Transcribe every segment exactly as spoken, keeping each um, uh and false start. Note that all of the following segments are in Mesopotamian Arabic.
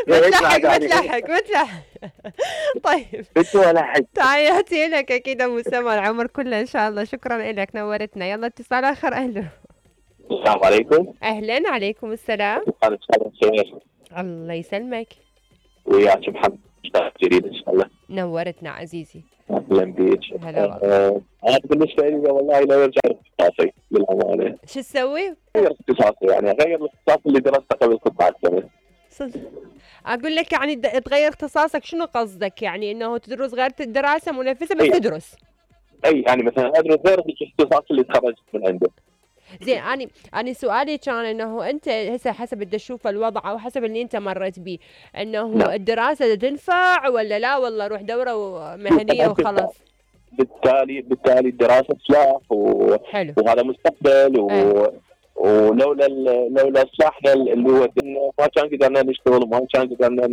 متلحق متلحق متلحق. طيب تحياتي لك اكيد ابو سما العمر كله ان شاء الله. شكرا لك نورتنا. يلا اتصال اخر. اهلا السلام عليكم. اهلا عليكم السلام. الله يسلمك. وياك محمد جديد ان شاء الله. نورتنا عزيزي. اهلا بيك. هلا والله. انا بالنسبه لي والله لا يرجع اختصاصي للامانه. شو تسوي؟ غير اختصاصي يعني غير الاختصاص اللي درسته قبل ست سنوات. صدق اقول لك يعني تغير اختصاصك شنو قصدك؟ يعني انه تدرس غير الدراسه منافسه بس أي. تدرس اي يعني مثلا ادرس غير الاختصاص اللي تخرجت من عنده. زين اني اني سؤالي كان انه انت هسه حسب بدك تشوف الوضع او حسب اللي انت مريت به انه لا. الدراسه تنفع ولا لا والله روح دوره مهنيه وخلاص. بالتالي بالتالي الدراسه سلاح و... وهذا مستقبل و... أي. ولولا لولا سلاحنا اللي هو ما كان قدرنا نشتغل وما كان قدرنا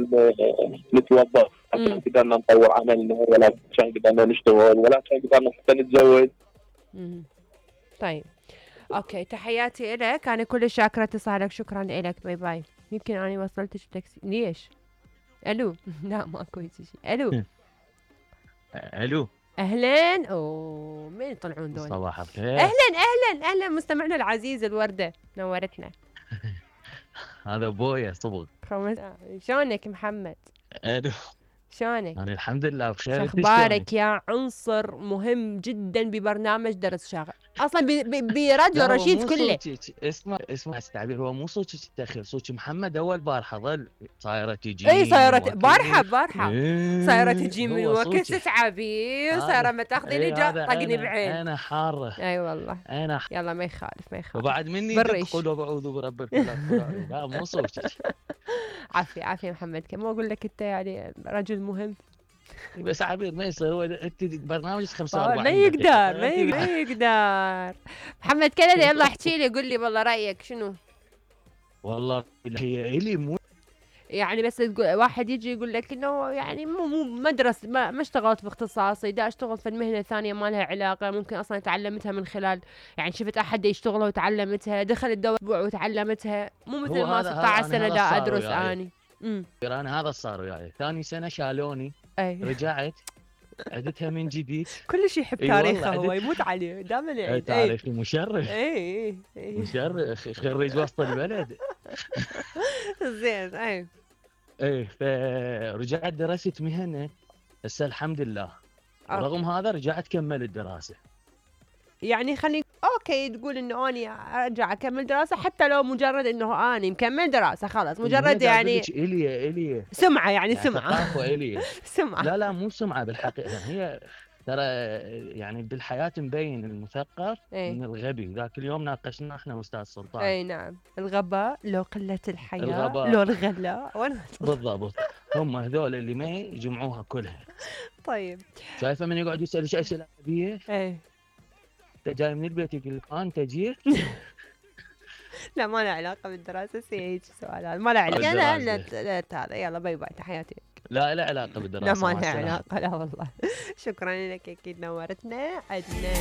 نتوظف، ما كان قدرنا نطور عملنا ولا كان قدرنا نشتغل ولا كان قدرنا حتى نتزوج. طيب اوكي تحياتي لك. انا كل شاكره اتصالك. شكرا لك. باي باي. يمكن انا وصلتش بتاكسي. ليش؟ الو. لا ماكو شيء. الو الو اهلا. اوه مين يطلعون دول؟ صباح الخير. اهلا اهلا اهلا مستمعنا العزيز الورده نورتنا. هذا ابويا صبغ. شلونك محمد؟ الو شلونك؟ انا الحمد لله بخير. شو اخبارك يا عنصر مهم جدا ببرنامج درس شاغل اصلا براديو رشيد كله. اسمع اسمع التعبير هو مو صوتك التاخير صوتك محمد اول بارحه ظل صايره تجي. اي صايره بارحه بارحه صايره تجي من وقت تعبير صايره ما تاخذيني جا طقني بعين. انا حاره. اي والله انا يلا ما يخالف ما يخالف. وبعد مني تقولوا بعوذ برب الفلق. لا مو صوتك. عافيه عافيه محمد. كم اقول لك انت يعني رجل مهم بس عبير ما يصير. هو انت برنامج خمسة وأربعين ما يقدر ما يقدر. محمد كندا يلا احكي لي قول لي والله رايك شنو؟ والله هي الي مو يعني بس واحد يجي يقول لك انه يعني مو مو مدرسه ما, ما اشتغلت في اختصاصي دا اشتغل في المهنه الثانيه ما لها علاقه ممكن اصلا تعلمتها من خلال يعني شفت احد يشتغلها وتعلمتها دخلت دورة وتعلمتها مو مثل ما ستة عشر سنه دا ادرس اني. امم انا هذا صار وياي يعني. ثاني سنه شالوني. أي. رجعت عدتها من جديد. كل شيء يحب تاريخه هو يموت عليه دائما يعني تاريخي مشرف. اي اي مشرف خريج وسط البلد. زين اي ايه فرجعت درست مهنه هسه الحمد لله. رغم هذا رجعت كمل الدراسه. يعني خليني اوكي تقول انه اني ارجع اكمل دراسه حتى لو مجرد انه اني مكمل دراسه خلاص مجرد يعني الي الي سمعه يعني, يعني سمعه الي سمعه. لا لا مو سمعه بالحقيقه هي ترى يعني بالحياه مبين المثقف ايه؟ من الغبي. ذاك اليوم ناقشنا احنا استاذ سلطان. اي نعم الغباء لو قله الحياه الغباء. لو الغلاء بالضبط. هم هذول اللي ما يجمعوها كلها. طيب شايفه من يقعد يسال ايش اسئله غبيه. ايه انت جاي من البيت يقول لك انت جيت. لا ما له علاقه بالدراسه هيك سؤال هذا ما له علاقه. لا لا هذا يلا باي باي تحياتي. لا لا علاقه بالدراسه. لا ما له علاقه لا والله. شكرا لك اكيد نورتنا عدنا.